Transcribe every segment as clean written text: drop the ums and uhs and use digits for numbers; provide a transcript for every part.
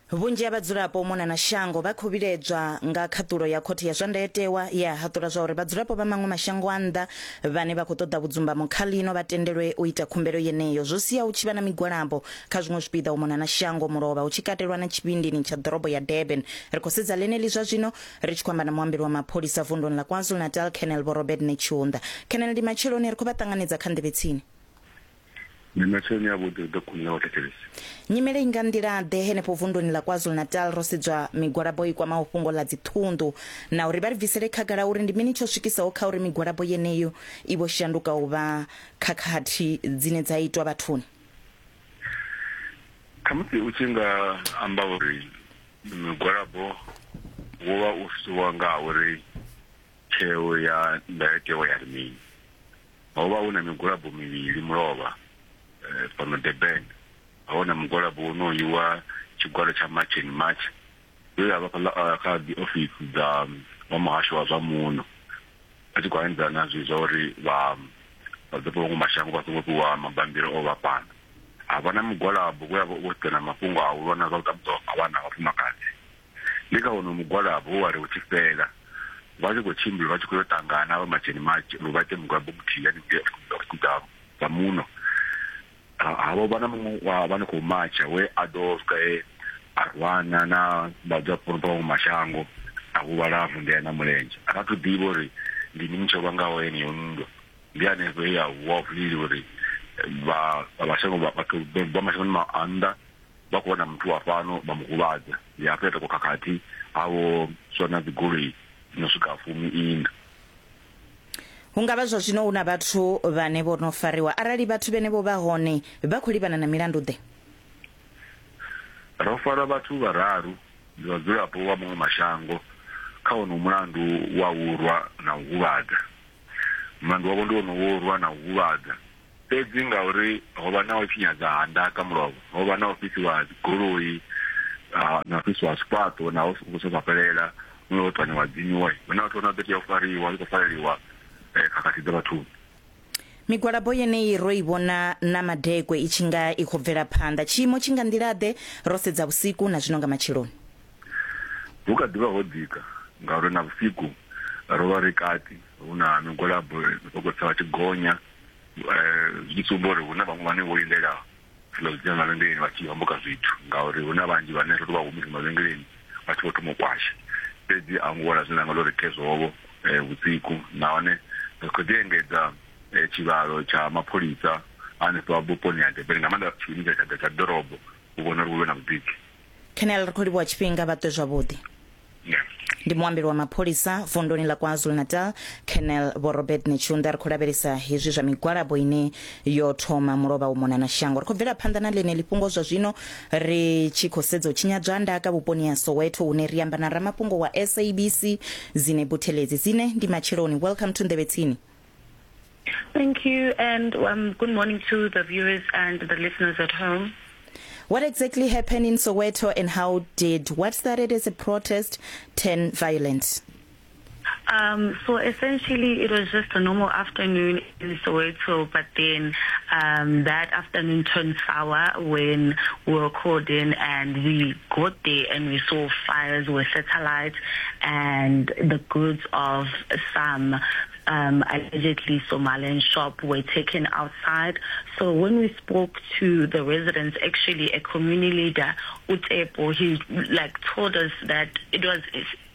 Vhunzhi ha vhadzulapo u mona na shango vha khou vhilaedzwa nga khaṱulo ya Khothe ya zwa Ndayotewa ye ya haṱula zwa uri vhadzulapo vha maṅwe mashango a nnḓa vhane vha khou ṱoḓa vhudzumbamo kha ḽino vha tendelwe u ita khumbelo yeneyo. Zwo sia hu tshi vha na migwalabo kha zwiṅwe zwipiḓa u mona na shango mulovha hu tshi katelwa na tshivhindini tsha ḓorobo ya Durban. Ri khou sedza ḽeneḽi zwa zwino ri tshi khou amba na muambeli wa mapholisa vunduni ḽa KwaZulu-Natal Colonel Vho Robert Netshiunda. Colonel ndi matsheloni, ri khou vha ṱanganedza kha Nḓevhe Tsini. Ndi matsheloni avhuḓi hu ḓo khunḓa vhathetshelesi. Nyimele i nga nḓila-ḓe henefho vunduni ḽa KwaZulu-Natal ro sedzwa migwalabo i kwamaho fhungo ḽa dziṱhunḓu na uri vha ri bvisele khagala uri ndi mini tsho swikisaho kha uri migwalabo yeneyo i vho shanduka u vha khakhathi dzine dza itwa vhathuni? Khamusi u tshi nga amba uri migwalabo wo vha u siwa nga uri tsheo ya ndayotewa ya ri mini. Ho vha hu na migwalabo mivhili mulovha fhano Durban. Ho vha na mugwalabo wonoyu wa tshigwada tsha March and March we ya vha fhaḽa kha dzi ofisi dza vha muhasho wa zwa muno vha tshi khou hanedzana zwi zwa uri vha vhadzulapo vha maṅwe mashango vha songo fhiwa mabambiri o vha fhano. Ha vha na mugwalabo we wa vha wo sedzana na mafhungo a u lwa na zwa u tambudzwa ha vhana na vhafumakadzi. Ndi kha wonoyu mugwalabo we wa ri u tshi fhela, vha tshi khou tshimbila vha tshi khou yo ṱangana vha matsheni matshi uri vha ite mugwalabo muthihi haningei ofisini dza dza muno. Ha vho vha na muṅwe wa vha no khou matsha we a ḓo swika he a rwana na vhadzulapo vha maṅwe mashango a huvhala a vunḓea na mulenzhe. A thi athu ḓivha uri ndi mini tsho vhangaho yeneyo nndwa. Ndi hanefho he ya vuwa vilili uri vha mashango vhathu vha mashangoni a nnḓa vha khou vhona muthu wa fhano vha mu huvhadza. Ndi hafho ya takuwa khakhathi ha vho swa na dzigoloi dzi no swika fumi-iṋa. Hu nga vha zwa zwino hu na vhathu vhane vho no fariwa. Arali vhathu vhenevho vha hone, vha khou livhana na milandu-ḓe? Ro fara vhathu vhararu, ndi vhadzulapo vha maṅwe mashango, kha wonowu mulandu wa u rwa na u huvhadza. Mulandu wavho ndi wonowu wa u rwa na u huvhadza. Fhedzi ngauri ho vha na u tshinyadza ha ndaka mulovha, ho vha na u fhisiwa ha dzigoloi, na u fhisiwa ha zwifhaṱo naho zwi songo fhelela, huṅwe ho ṱwanyiwa dzinyiwa, hu na vhathu vhane vha ḓo tea u fariwa vha tshi khou fareliwa khakhathi dza vhathuni. Migwalabo yeneyi ro i vhona na madekwe i tshi nga i khou bvela phanḓa. Tshiimo tshi nga nḓila-ḓe ro sedza vhusiku na zwino nga matsheloni? Hu kha ḓi vha ho dzika ngauri na vhusiku ro vha ri kati hu na migwalabo vha khou tsa vha tshi gonya Zwi tshi sumba uri hu na vhaṅwe vhane vho lindela zwiḽa zwi tshiya mavhengeleni vha tshi homboka zwithu ngauri hu na vhanzhi vhane ro tou vha humisa mavhengeleni vha tshi vho thoma u kwasha. Fhedzi a hu ngo wela zwine nda nga tou ri khezwo-vho vhusiku nahone ri khou ḓi engedza tshivhalo tsha mapholisa hanefha vhuponi ha Durban nga maanḓa tshiimiswa tsha ḓorobo u vhona uri hu vhe na vhudziki. Colonel ri khou livhuwa tshifhinga vha ṱwe zwavhuḓi. Ndi muambeli wa mapholisa vunduni ḽa KwaZulu-Natal Colonel Vho Robert Netshiunda. Ri khou lavhelesa hezwi zwa migwalabo ine yo thoma mulovha u mona na shango. Ri khou bvela phanḓa na ḽeneḽi fhungo zwa zwino ri tshi khou sedza u tshinyadzwa ha ndaka vhuponi ha Soweto hune ri amba na ramafhungo wa SABC Zine Buthelezi. Zine, ndi matsheloni. Welcome to Nḓevhe Tsini. Thank you, and good morning to the viewers and the listeners at home. What exactly happened in Soweto and how did what started as a protest turn violent? So essentially, it was just a normal afternoon in Soweto, but then that afternoon turned sour when we were called in and we got there and we saw fires were satellites and the goods of some allegedly Somalian shop were taken outside. So when we spoke to the residents, actually a community leader, Utepo, he told us that it was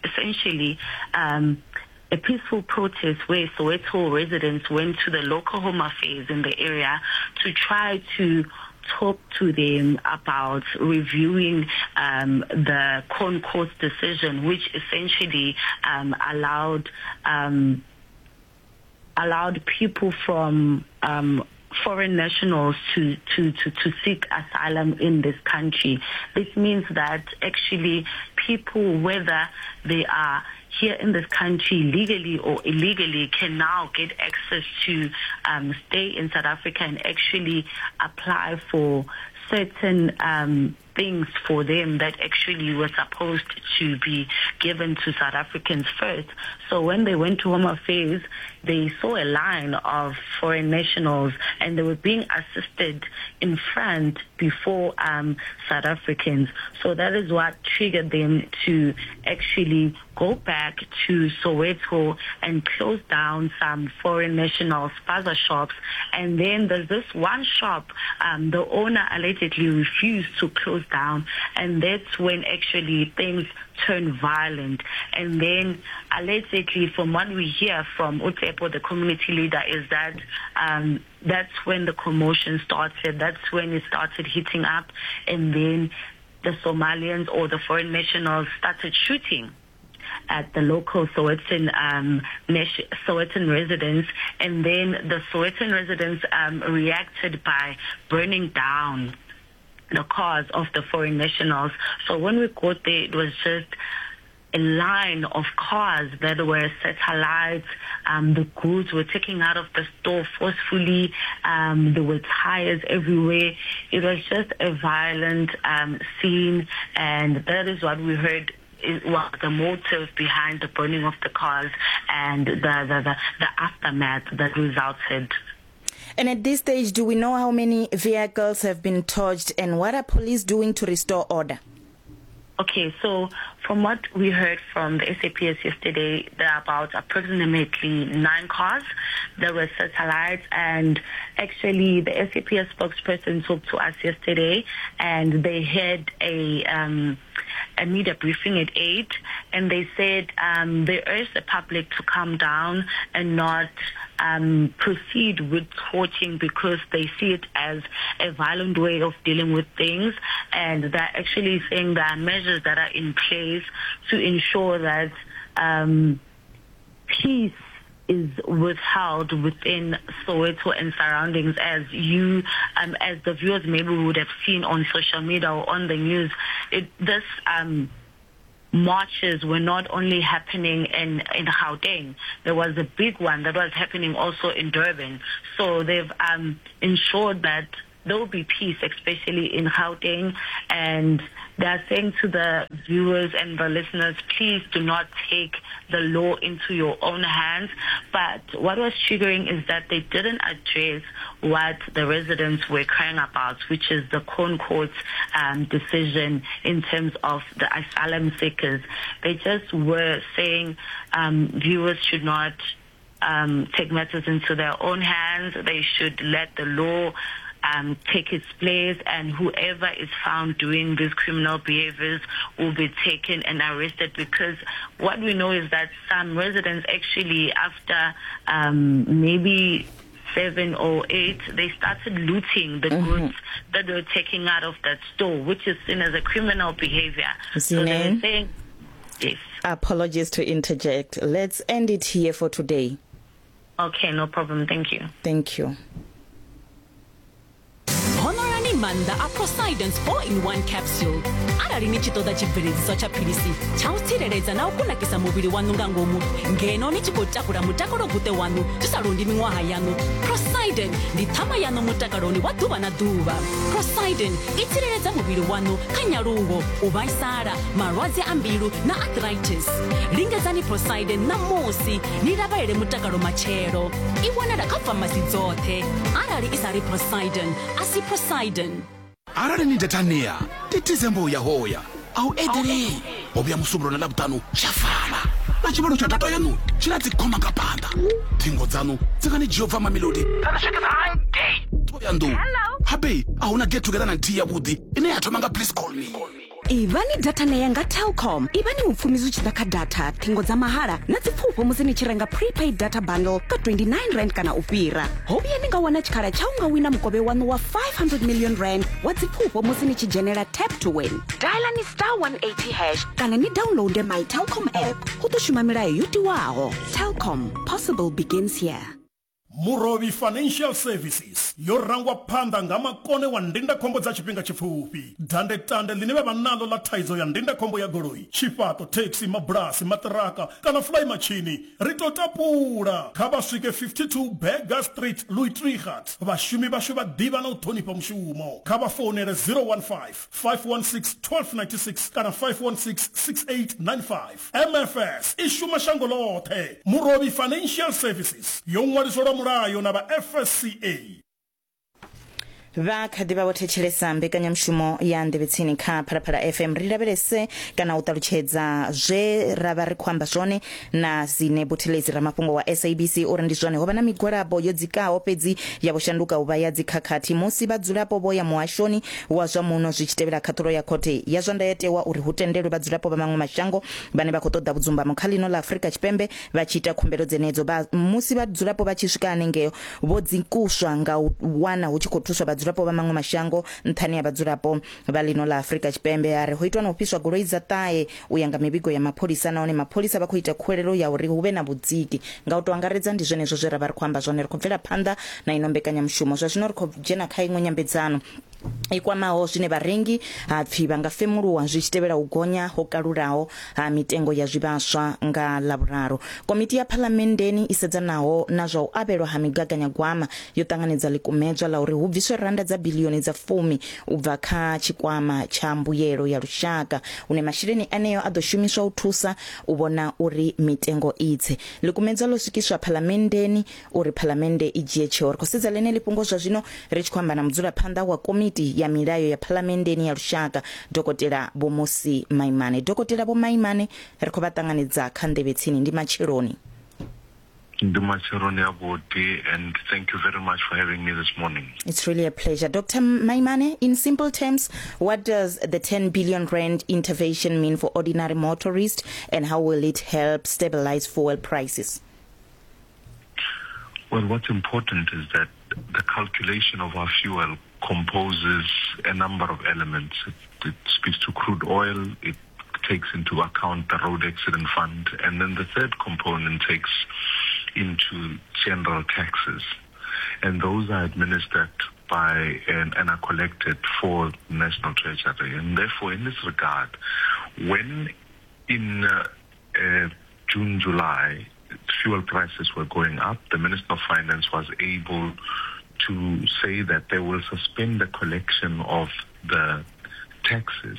essentially a peaceful protest where Soweto residents went to the local home affairs in the area to try to talk to them about reviewing the ConCourt decision, which essentially allowed people from foreign nationals to seek asylum in this country. This means that actually people, whether they are here in this country legally or illegally, can now get access to stay in South Africa and actually apply for certain things for them that actually were supposed to be given to South Africans first. So when they went to Home Affairs, they saw a line of foreign nationals and they were being assisted in front before um, South Africans. So that is what triggered them to actually go back to Soweto and close down some foreign national spaza shops. And then there's this one shop, um, the owner allegedly refused to close down. And that's when actually things turned violent. And then allegedly, from what we hear from Utepo, the community leader, is that um, that's when the commotion started. That's when it started heating up. And then the Somalians or the foreign nationals started shooting at the local Sowetan um, Sowetan residents, and then the Sowetan residents um, reacted by burning down the cars of the foreign nationals. So when we got there, it was just a line of cars that were satellites. Um, the goods were taken out of the store forcefully. Um, there were tires everywhere. It was just a violent um, scene, and that is what we heard was the motive behind the burning of the cars and the, the, the, the aftermath that resulted. And at this stage, do we know how many vehicles have been torched and what are police doing to restore order? Okay, so from what we heard from the SAPS yesterday, there are about approximately nine cars. There were satellites, and actually the SAPS spokesperson talked to us yesterday, and they had a um, a media briefing at 8, and they said um, they urged the public to calm down and not um, proceed with torching because they see it as a violent way of dealing with things, and they're actually saying there are measures that are in place to ensure that um, peace is withheld within Soweto and surroundings as you, um, as the viewers maybe would have seen on social media or on the news. It, this um, marches were not only happening in, in Gauteng. There was a big one that was happening also in Durban. So they've um, ensured that there will be peace, especially in Gauteng. And they are saying to the viewers and the listeners, please do not take the law into your own hands. But what was triggering is that they didn't address what the residents were crying about, which is the Concourt's um, decision in terms of the asylum seekers. They just were saying um, viewers should not um, take matters into their own hands. They should let the law um, take its place, and whoever is found doing these criminal behaviors will be taken and arrested. Because what we know is that some residents actually, after um, maybe seven or eight, they started looting the mm-hmm. goods that they were taking out of that store, which is seen as a criminal behavior. So they were saying, yes. Apologies to interject. Let's end it here for today. Okay, no problem. Thank you. Thank you. Honorani maanḓa a Prosidence 4 in 1 capsule. Arali ni tshi ṱoḓa tshibveledziswa tsha philisi tsha u tsireledza na u kunakisa muvhili waṋu nga ngomu ngeno ni tshi khou takula mutakalo guṱe waṋu zwi sa londi miṅwaha yaṋu, Prosidin ndi ṱhama yaṋu mutakaloni wa ḓuvha na ḓuvha. Prosidin i tsireledza muvhili waṋu kha nyaluwo, u vhaisala, malwadze a mbilu na arthritis. Lingedzani Prosidin ṋamusi ni lavhalele mutakalo matshelo. I wanala kha famasi dzoṱhe. Arali i sa ri Prosidin, a si Prosidin. Arali ni datania titizembo ya hoya a u eḓelei ho vhuya musumbulo na ḽavhuṱanu tsha fana na tshivhalo tsha data yaṋu tshi na dzikhoma nga phanḓa ṱhingo dzaṋu dzi nga ni dzhia u bva mamelodi dza ni swikisa hangei ṱhohoyanḓou habe a hu na get together na nthihi yavhuḓi ine ya thoma nga please call me Ivhani data nea nga Telkom. Ivhani mupfumi zwi tshi ḓa kha data, ṱhingo dza mahala na dzipfufho musi ni tshi renga prepaid data bundle ka 29 rand kana u fhira. Ho vhuya ni nga wana tshikhala tsha u nga wina mukovhe waṋu wa 500 million rand wa dzipfufho musi ni tshi dzhenela Tap to Win. Dialani star 180 hash kana ni downloade my Telkom app. Hu ḓo shuma milayo yo tiwaho. Telkom, possible begins here. Murovhi Financial Services yo rangwa phanḓa nga makone wa ndindakhombo dza tshifhinga tshipfufhi. Dandetande ḽine vha vha naḽo ḽa thaidzo ya ndindakhombo ya goloi, tshifhaṱo, thekhisi, mabulasi, maṱiraka kana fulaimatshini, ri tou tapula. Kha vha swike 52 Burger Street, Louis Trichardt. Vhashumi vhashu vha ḓivha na u ṱhonifha mushumo. Kha vha founele 015 516 1296 kana 516 6895. MFS i shuma shango ḽoṱhe. Murovhi Financial Services yo ṅwaliswa lwa mulayo na vha FSCA. Vha kha ḓi vha vho thetshelesa mbekanyamushumo ya Nḓevhe Tsini kha Phalaphala FM. Ri lavhelese kana u ṱalutshedza zwe ra vha ri khou amba zwone na Zine Buthelezi ramafhungo wa SABC uri ndi zwone ho vha na migwalabo yo dzikaho fhedzi ya vho shanduka u vha ya dzikhakhathi musi vhadzulapo vho ya muhashoni wa zwa muno zwi tshi tevhela khaṱhulo ya khothe ya zwa ndayotewa uri hu tendelwe vhadzulapo vha maṅwe mashango vhane vha khou ṱoḓa vhudzumbamo kha ḽino ḽa Afrika Tshipembe vha tshi ita khumbelo dzenedzo. Vha musi vhadzulapo vha tshi swika hanengeo vho dzikuswa nga u wana hu tshi khou thuswa vhadzulapo vha maṅwe mashango nṱhani ha vhadzulapo vha ḽino ḽa Afrika Tshipembe. A ri ho itwa na u fhiswa goloi dza ṱahe u ya nga mivhigo ya mapholisa nahone mapholisa vha khou ita khuwelelo ya uri hu vhe na vhudziki. Nga u tou angaredza ndi zwenezwo zwe ra vha ri khou amba zwone. Ri khou bvela phanḓa na ino mbekanyamushumo. Zwa zwino ri khou dzhena kha iṅwe nyambedzano i kwamaho zwine vharengi ha pfi vha nga femuluwa zwi tshi tevhela u gonya ho kalulaho ha mitengo ya zwivhaswa nga Ḽavhuraru. Komiti ya Phalamenndeni i sedzanaho na zwa u avhelwa ha migaganyagwama yo ṱanganedza ḽikumedzwa ḽa uri hu bviswe randa dza biḽioni dza fumi u bva kha tshikwama tsha mbuyelo ya lushaka hune masheleni aneo a ḓo shumiswa u thusa u vhona uri mitengo i tse. Ḽikumedzwa ḽo swikiswa Phalamenndeni uri Phalamennde i dzhie tsheo. Ri khou sedza ḽeneḽi fhungo zwa zwino ri tshi khou amba na mudzulaphanḓa wa Komiti ya Milayo ya Phalamenndeni ya Lushaka, Dokotela Vho Mmusi Maimane. Dokotela Vho Maimane, ri khou vha ṱanganedza kha Nḓevhe Tsini. Ndi matsheloni. Ndi matsheloni avhuḓi and thank you very much for having me this morning. It's really a pleasure. Dr. Maimane, in simple terms, what does the 10 billion rand intervention mean for ordinary motorists and how will it help stabilize fuel prices? Well, what's important is that the calculation of our fuel composes a number of elements. It, it speaks to crude oil, it takes into account the road accident fund, and then the third component takes into general taxes. And those are administered by and, and are collected for National Treasury. And therefore, in this regard, when in uh, uh, June, July, fuel prices were going up, the Minister of Finance was able to say that they will suspend the collection of the taxes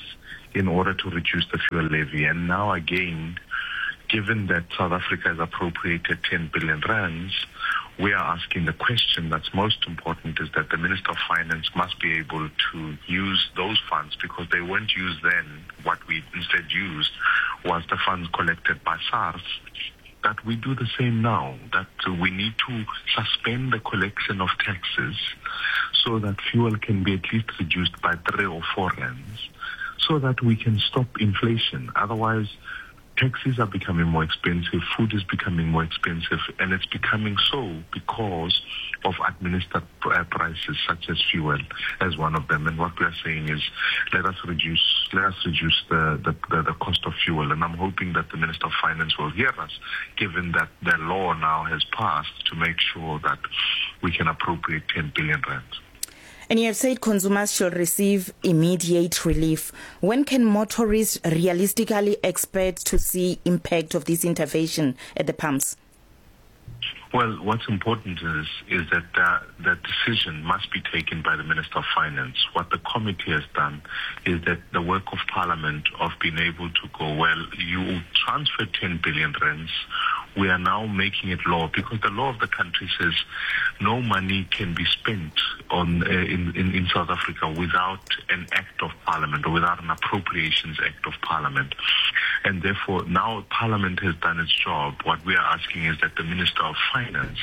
in order to reduce the fuel levy. And now again, given that South Africa has appropriated 10 billion rands, we are asking the question that's most important is that the Minister of Finance must be able to use those funds because they weren't used then. What we instead used was the funds collected by SARS that we do the same now, that we need to suspend the collection of taxes so that fuel can be at least reduced by three or four rands so that we can stop inflation. Otherwise, taxis are becoming more expensive, food is becoming more expensive, and it's becoming so because of administered uh, prices such as fuel as one of them. And what we are saying is, let us reduce, let us reduce the, the, the, the cost of fuel. And I'm hoping that the Minister of Finance will hear us, given that the law now has passed to make sure that we can appropriate 10 billion rands. And you have said consumers should receive immediate relief. When can motorists realistically expect to see impact of this intervention at the pumps? Well, what's important is is that uh, that decision must be taken by the Minister of Finance. What the committee has done is that the work of Parliament of being able to go, well, you transfer 10 billion rands we are now making it law because the law of the country says no money can be spent on uh, in, in, in South Africa without an act of parliament or without an appropriations act of parliament. And therefore now parliament has done its job. What we are asking is that the Minister of Finance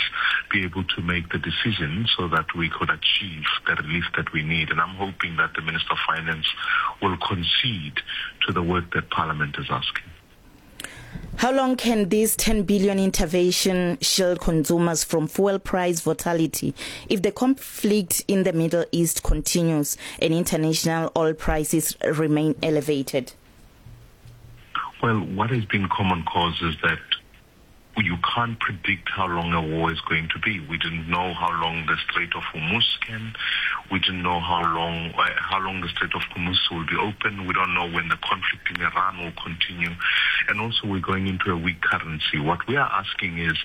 be able to make the decision so that we could achieve the relief that we need. And I'm hoping that the Minister of Finance will concede to the work that parliament is asking. How long can this 10 billion intervention shield consumers from fuel price volatility if the conflict in the Middle East continues and international oil prices remain elevated? Well, what has been common cause is that You can't predict how long a war is going to be. We didn't know how long the Strait of Hormuz can. We didn't know how long uh, how long the Strait of Hormuz will be open. We don't know when the conflict in Iran will continue. And also we're going into a weak currency. What we are asking is,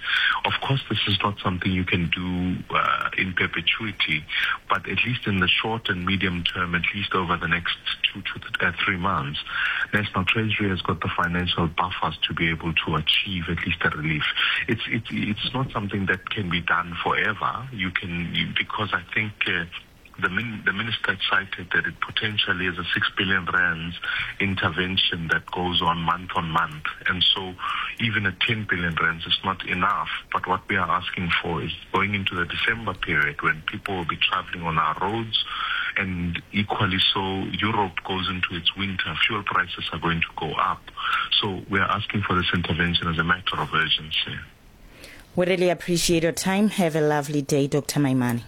of course, this is not something you can do uh, in perpetuity, but at least in the short and medium term, at least over the next two to uh, three months, National Treasury has got the financial buffers to be able to achieve at least a relief. It's it's it's not something that can be done forever. You can you, because I think. Uh, the, min, the minister cited that it potentially is a 6 billion rands intervention that goes on month on month. And so even a 10 billion rands is not enough. But what we are asking for is going into the December period when people will be traveling on our roads and equally so Europe goes into its winter, fuel prices are going to go up. So we are asking for this intervention as a matter of urgency. We really appreciate your time. Have a lovely day, Dr. Maimane.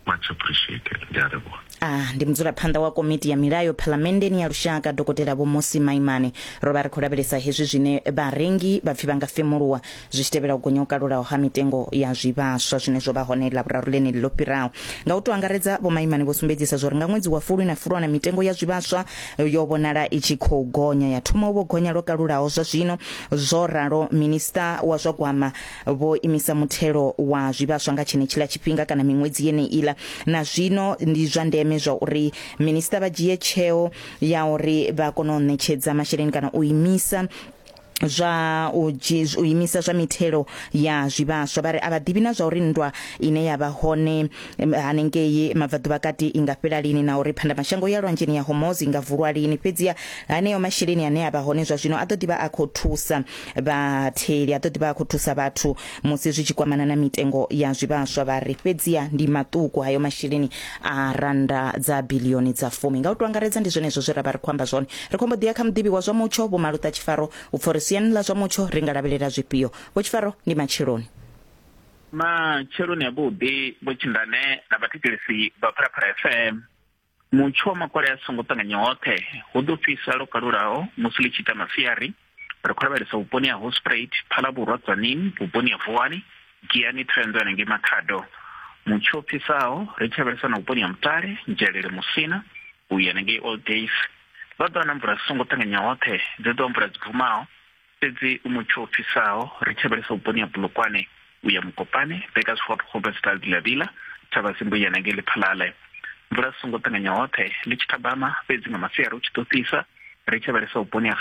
Much appreciated. Ndi a livhuwa. A ndi mudzulaphanḓa wa komiti ya milayo phalamenndeni ya lushaka Dokotela Vho Mmusi Maimane. Ro vha ri khou lavhelesa hezwi zwine vharengi vha pfi vha nga femuluwa zwi tshi tevhela u gonya ho kalulaho ha mitengo ya zwivhaswa zwine zwo vha hone Ḽavhuraru ḽeneḽi ḽo fhiraho. Nga u tou angaredza, Vho Maimane vho sumbedzisa zwa uri nga ṅwedzi wa Fulwi na Fulwana mitengo ya zwivhaswa yo vhonala i tshi khou gonya ya thoma u vho gonya lwo kalulaho zwa zwino. Zwo ralo, Minisiṱa wa zwa Gwama vho imisa muthelo wa zwivhaswa nga tshenetshiḽa tshifhinga kana miṅwedzi yeneiḽa. Na zwino ndi zwa ndeme zwa uri minisiṱa vha dzhie tsheo ya uri vha kone u ṋetshedza masheleni kana u imisa zwa u u imisa zwa mithelo ya zwivhaswa. Vha ri a vha ḓivhi na zwa uri nndwa ine ya vha hone hanengei mabvaḓuvha kati i nga fhela lini na uri phandamashango ya lwanzheni ya Hormuz i nga vulwa lini. Fhedziha haneyo masheleni ane a vha hone zwa zwino a ḓo ḓi vha a khou thusa vhatheli, a ḓo ḓi vha a khou thusa vhathu musi zwi tshi kwamana na mitengo ya zwivhaswa. Vha ri fhedziha ndi maṱuku hayo masheleni a rannda dza biḽioni dza fumi. Nga u tou angaredza ndi zwenezwo zwe ra vha ri khou amba zwone. Ri khou mbo ḓi ya kha muḓivhi wa zwa mutsho Vho Maluṱa Tshifaro u pfa uri siani ḽa zwa mutsho ri nga lavhelela zwifhio. Vho Tshifaro, ndi matsheloni. Matsheloni avhuḓi Vho Tshindane na vhathetshelesi vha Phalaphala FM. Mutsho wa makole a songo ṱanganya hoṱhe hu ḓo fhisa lwo kalulaho musi ḽi tshi ita masiari. Ri khou lavhelesa vhuponi ha Hoedspruit, Phalaborwa, Tzaneen, vhuponi ha Vuwani, Giyani, Thohoyandou hanengei Makhado. Mutsho u fhisaho ri tshi lavhelesa na vhuponi ha Mutale, Nzhelele, Musina u ya hanengei Old Days. Vha ḓo wana mvula dzi songo ṱanganya hoṱhe, dzi ḓo vha mvula dzi bvumaho fhedzi u mutsho u fhisaho ri tshi lavhelesa vhuponi ha Polokwane u ya Mokopane, Burgersfort, Groblersdal, Vilavila, Thavhasimbo u ya hanengei Lephalale. Mvula dzi songo ṱanganya hoṱhe ḽi tshi thabama fhedzi nga masiari hu tshi ḓo fhisa ri tshi lavhelesa vhuponi ha.